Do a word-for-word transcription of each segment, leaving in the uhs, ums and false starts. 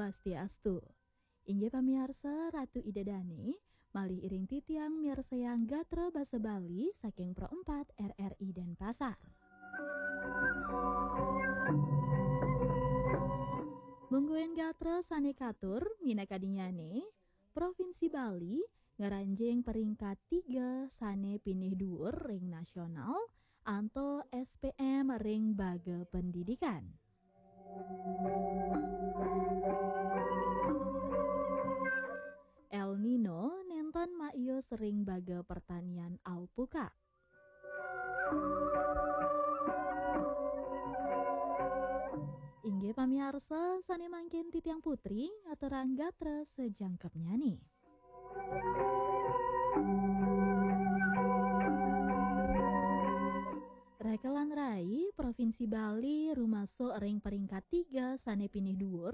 Swastiastu. Inggih pamiarsa, Ratu Ida Dane, malih iring titiang miarsayang gatra basa Bali saking Pro empat R R I Denpasar. Mungguing gatra sane katur, minakadinnyane, Provinsi Bali ngranjing peringkat tiga sane pinih dhuwur ring nasional, antuk S P M ring baga pendidikan. El Nino nenten maius ring baga pertanian alpukat. Inggih pamiarsa, sane mangkin titiang Putri ngaturang gatra sajangkepnyane. Raka lan rai, Provinsi Bali rumasuk ring peringkat tiga sane pinih dhuwur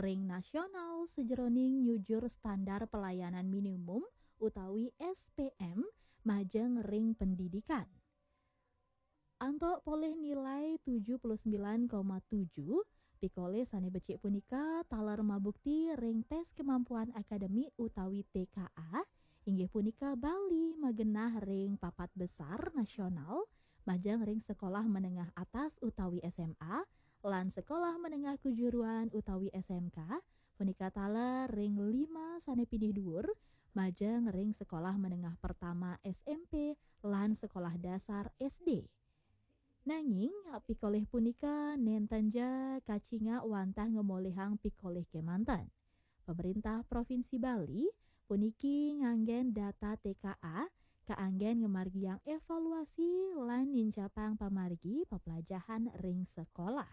ring nasional sajeroning nyujur standar pelayanan minimum utawi S P M majeng ring pendidikan. Antuk polih nilai tujuh puluh sembilan koma tujuh, pikolih sane becik punika taler mabukti ring tes kemampuan akademik utawi T K A, inggih punika Bali magenah ring papat besar nasional, majeng ring sekolah menengah atas utawi S M A, lan sekolah menengah kejuruan utawi S M K, punika taler ring lima sane pinih dhuwur, majeng ring sekolah menengah pertama S M P lan sekolah dasar S D. Nanging, pikolih punika nenten ja kacingak wantah ngamolihang pikolih kemanten. Pemerintah Provinsi Bali puniki nganggen data T K A kaanggen ngamargiang evaluasi lan nincapang pamargi peplajahan ring sekolah.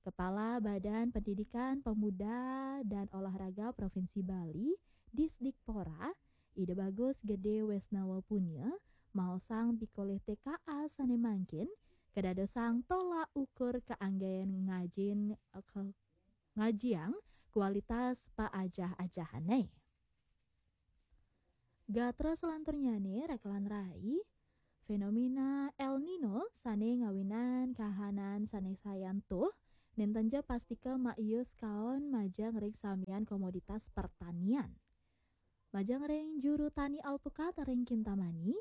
Kepala Badan Pendidikan Pemuda dan Olahraga Provinsi Bali, Disdikpora, Ida Bagus Gede Wesnawa Punia, maosang pikolih T K A sane mangkin kadadosang tolak ukur kaanggen ngajin, ke-, ngajiang kualitas paajah-ajahane. Gatra salanturnyane, raka lan rai, fenomena El Nino sane ngawinan kahanan sane sayan tuh, nenten ja pastika maius kaon majeng ring samian komoditas pertanian. Majeng ring juru tani alpukat ring Kintamani,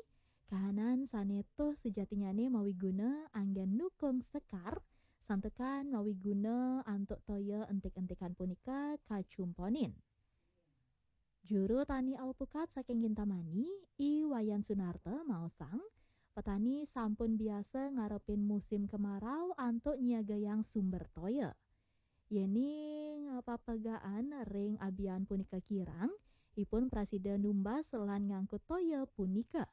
kahanan sane tuh sujatinyane mawiguna anggen nukung sekar, santukan mawiguna antuk toya entik-entikan punika kacumponin. Juru tani alpukat saking Kintamani, I Wayan Sunarta, maosang, petani sampun biasa ngarepin musim kemarau antuk nyiagayang sumber toya. Yening papegaan ring abian punika kirang, ipun prasida numbas lan ngangkut toya punika.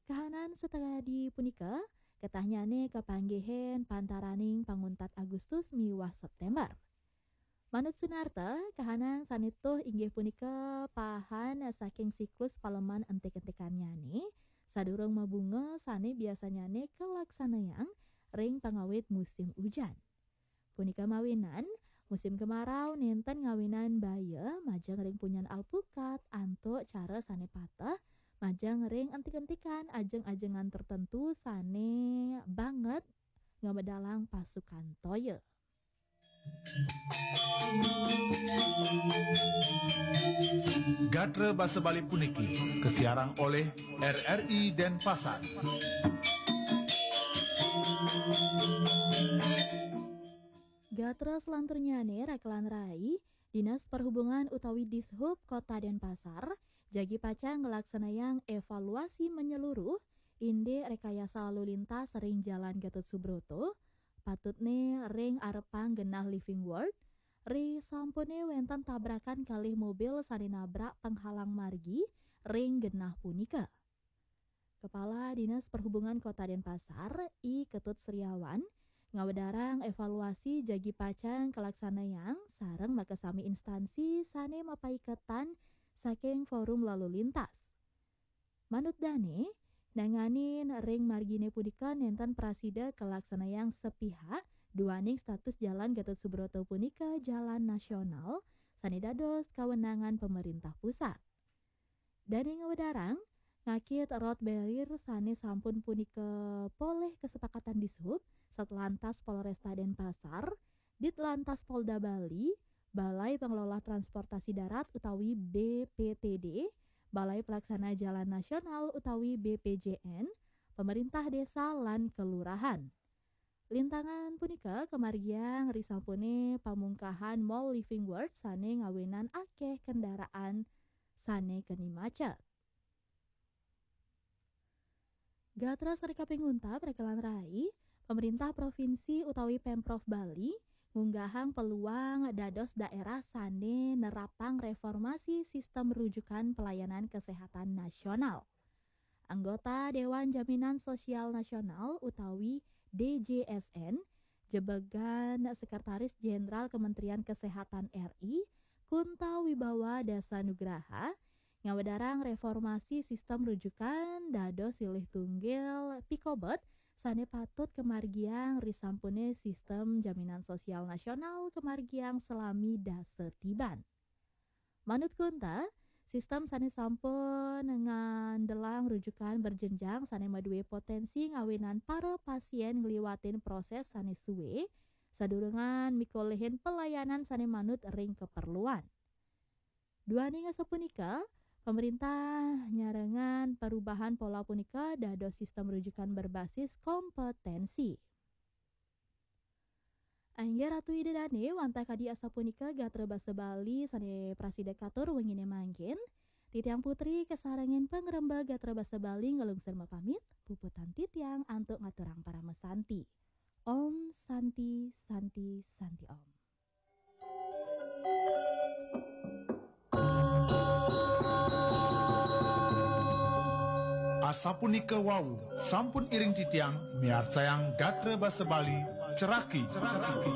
Kahanan sakadi punika, ketahnyane kapanggihin pantaraning panguntat Agustus miwah September. Manut Sunarta, kahanan sane tuh inggih punika pahan saking siklus paleman entik-entikannyane, sadurung mabunga sane biasanyane kalaksanayang ring pangawit musim ujan. Punika mawinan, musim kemarau nenten ngawinan baya majeng ring punyan alpukat antuk cara sane pateh, majeng ring entik-entikan ajeng-ajengan tertentu sane banget ngamedalang pasukan toya. Gatra basa Bali puniki kasiarang olih R R I Denpasar. Gatra selanturnyane, raka lan rai, Dinas Perhubungan utawi Dishub Kota Denpasar jagi pacang nglaksanayang evaluasi menyeluruh indik rekayasa lalu lintas ring Jalan Gatot Subroto, patutne ring arepang genah Living World, ri sampune wenten tabrakan kalih mobil sane nabrak penghalang margi ring genah punika. Kepala Dinas Perhubungan Kota Denpasar, I Ketut Sriawan, ngawedarang evaluasi jagi pacang kalaksanayang sareng makasami instansi sane mapaiketan saking forum lalu lintas. Manut dane, nanganin ring margine punika nenten prasida kalaksanayang sepihak duaning status Jalan Gatot Subroto punika jalan nasional sane dados kawenangan pemerintah pusat. Dane ngawedarang, ngakit road barrier sane sampun punika polih kesepakatan Dishub, Satlantas Polresta Denpasar, Ditlantas Polda Bali, Balai Pengelola Transportasi Darat utawi B P T D, Balai Pelaksana Jalan Nasional utawi B P J N, pemerintah desa lan kelurahan. Lintangan punika kamargiang risampune pamungkahan Mall Living World sane ngawinan akeh kendaraan sane keni macet. Gatra sane kaping untat rekelan rai, pemerintah provinsi utawi Pemprov Bali ngunggahang peluang dados daerah sane nerapang reformasi sistem rujukan pelayanan kesehatan nasional. Anggota Dewan Jaminan Sosial Nasional utawi D J S N, jebegan Sekretaris Jenderal Kementerian Kesehatan R I, Kunta Wibawa Dasa Nugraha, ngawedarang reformasi sistem rujukan dados silih tunggil pikobet sane patut kamargiang risampune sistem jaminan sosial nasional kamargiang selami dasa tiban. Manut Kunta, sistem sane sampun ngandelang rujukan berjenjang sane madue potensi ngawinan para pasien ngliwatin proses sane suwe sadurungan mikolehin pelayanan sane manut ring keperluan. Duaning asapunika, pemerintah nyarengan perubahan pola punika dados sistem rujukan berbasis kompetensi. Inggih Ratu Ida Dane, wantah kadi asapunika gatra basa Bali sane prasida katur wengine mangkin. Titiang Putri kasarengin pangrembag gatra basa Bali ngelungsur mapamit, puputang titiang antuk ngaturang parama santi. Om Santi, Santi, Santi Om. Asapunika wau, sampun iring titiang miarsayang gatra basa Bali, ceraki, ceraki.